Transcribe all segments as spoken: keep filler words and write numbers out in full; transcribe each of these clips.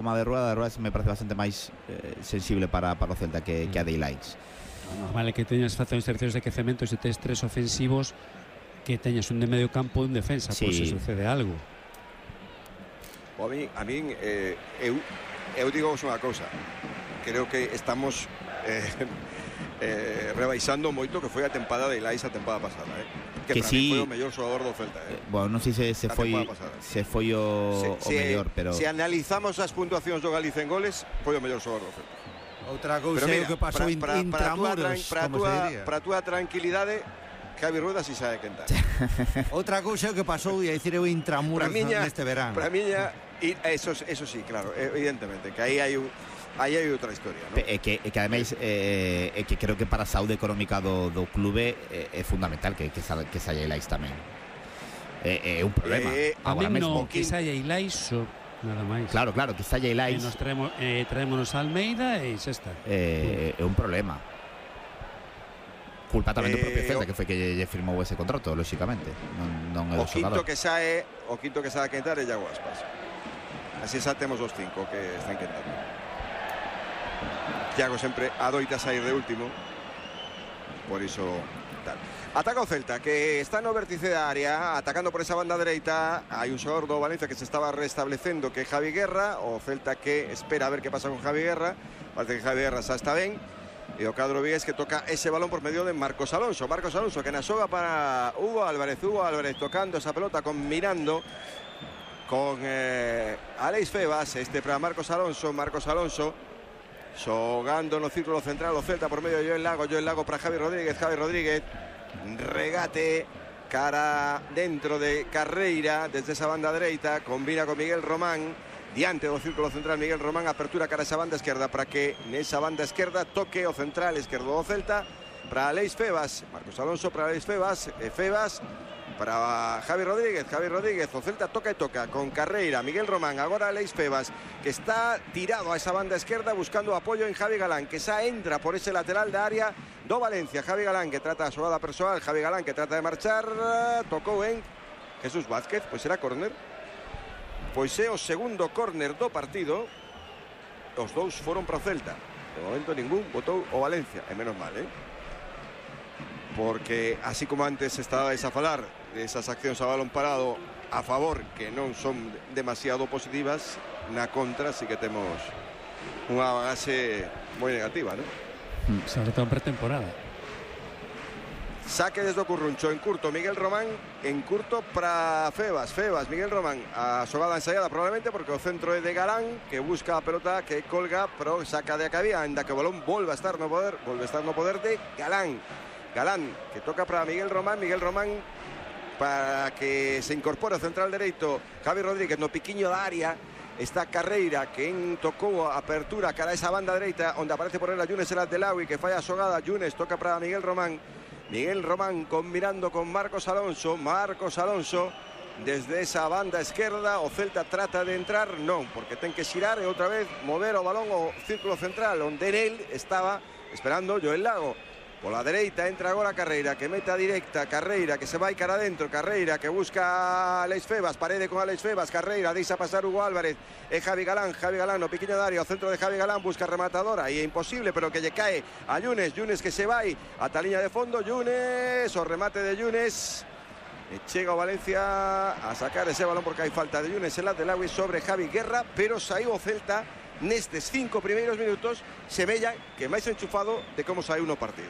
Como de Rueda, de Rueda me parece bastante máis eh, sensible para, para o Celta que, que a de Ilaix. Normal é que teñas facciones terceros de quecemento se tes tres ofensivos que teñas un de medio campo e un defensa, sí. Pois se sucede algo. O a mí, a mí eh, eu, eu digo unha cousa, creo que estamos eh, eh, rebaixando moito que foi a tempada de Ilaix a tempada pasada, eh? que, que para sí, mí foi o mellor xogador do Celta, eh? Bueno, non sei se, se foi se foi o, se, o mellor, pero se analizamos as puntuacións do Galicia en goles, foi o mellor xogador do Celta. Outra cousa é o que pasou para, intramuros, para como se diría. Para a túa tranquilidade, Javi Rueda si sabe quentar. Outra cousa é o que pasou, e a dicir eu intramuros miña, neste verano. Para miña, e eso, eso sí, claro, evidentemente, que aí hai un aí hai outra historia, ¿no? É que, que ademais eh, é que creo que para a saúde económica do, do clube é, é fundamental que, que, que saia Ilaix tamén. É, é un problema. Eh, Agora mesmo que saia Ilaix nada máis. Claro, claro, que saia Ilaix. E nos traemos, eh, traémonos a Almeida e xa está. É, é un problema. Culpa tamén eh, do propio Celta, que foi que lle firmou ese contrato, lóxicamente. Non, non é o quinto que sae, o quinto que sae a quentar é Iago Aspas. Así xa temos os cinco que están quentando. Iago sempre adoita sair de último. Por iso tal. Ataca o Celta, que está no vértice da área, atacando por esa banda dereita. Hai un xogador do Valencia que se estaba restablecendo, que é Javi Guerra. O Celta que espera a ver que pasa con Javi Guerra. Parece que Javi Guerra xa está ben. E o cadro Vigués que toca ese balón por medio de Marcos Alonso. Marcos Alonso que na xoga para Hugo Álvarez. Hugo Álvarez tocando esa pelota, combinando con eh, Alex Febas. Este para Marcos Alonso. Marcos Alonso xogando no círculo central o Celta por medio de Joel Lago. Joel Lago para Javi Rodríguez. Javi Rodríguez. Regate cara dentro de Carreira desde esa banda dereita. Combina con Miguel Román. Diante do círculo central Miguel Román. Apertura cara a esa banda esquerda para que nesa banda esquerda toque o central esquerdo do Celta para Alex Febas. Marcos Alonso para Alex Febas. E Febas para Javi Rodríguez. Javi Rodríguez. O Celta toca e toca con Carreira. Miguel Román. Agora Alex Febas, que está tirado a esa banda esquerda buscando apoyo en Javi Galán, que xa entra por ese lateral da área do Valencia. Javi Galán que trata a xogada persoal. Javi Galán que trata de marchar. Tocou en Jesús Vázquez. Pois será córner. Pois é o segundo córner do partido. Os dous foron para o Celta. De momento ningún botou o Valencia. E menos mal, eh? Porque así como antes estabais a falar desas accións a balón parado a favor, que non son demasiado positivas, na contra sí que temos unha bagaxe moi negativa, non? Sobre todo en pretemporada. Saque desde o Curruncho en curto Miguel Román, en curto para Febas. Febas, Miguel Román, a xogada ensaiada probablemente porque o centro é de Galán, que busca a pelota, que colga, pero saca de a cabía, ainda que o balón volve a estar no poder, volve a estar no poder de Galán. Galán, que toca para Miguel Román, Miguel Román para que se incorpore o central dereito Javi Rodríguez no piquiño da área. Está Carreira, que en tocou a apertura cara a esa banda dereita, onde aparece por ela Yunes El Abdelawi, que falla a xogada. Yunes toca para Miguel Román. Miguel Román combinando con Marcos Alonso. Marcos Alonso desde esa banda esquerda. O Celta trata de entrar, non, porque ten que xirar e outra vez mover o balón ao círculo central, onde nel estaba esperando Joel Lago. Pola dereita entra agora Carreira, que meta directa. Carreira que se vai cara adentro. Carreira que busca a Alex Febas. Parede con Alex Febas. Carreira deixa pasar Hugo Álvarez. É Javi Galán. Javi Galán no piquiño de área. O centro de Javi Galán busca rematadora. E é imposible, pero que lle cae a Yunes. Yunes que se vai ata a liña de fondo. Yunes. O remate de Yunes. E chega o Valencia a sacar ese balón porque hai falta de Yunes El Abdelawi sobre Javi Guerra. Pero saiu o Celta nestes cinco primeiros minutos, semella que máis enchufado de como saiu no partido.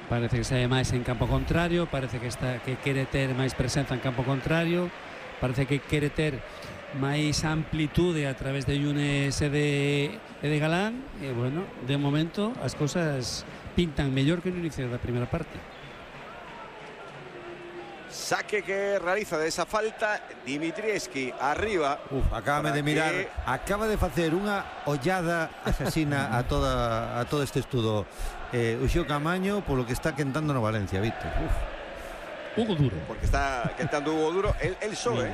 Parece que sae máis en campo contrario, parece que está que quere ter máis presenza en campo contrario, parece que quere ter máis amplitude a través de Yunes e de, e de Galán. E bueno, de momento as cousas pintan mellor que no inicio da primeira parte. Saque que realiza de esa falta Dimitrievski arriba. Uf, acaba de mirar, que... acaba de facer unha ollada asasina a toda a todo este estudo eh, Uxío Camaño polo que está quentando no Valencia, Víctor. Uf. Hugo Duro. Porque está quentando Hugo Duro, el, el sobe,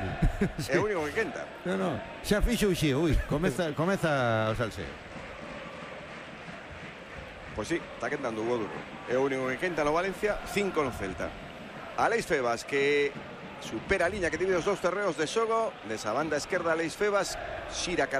sí. É o único que quenta. No, no, xa fixo Uxío, ui, comeza, comeza o salseo. Pois sí, está quentando Hugo Duro. É o único que quenta no Valencia, cinco no Celta. Alex Febas que supera a liña que divide os dous terreos de xogo. Desa banda esquerda Alex Febas xira cara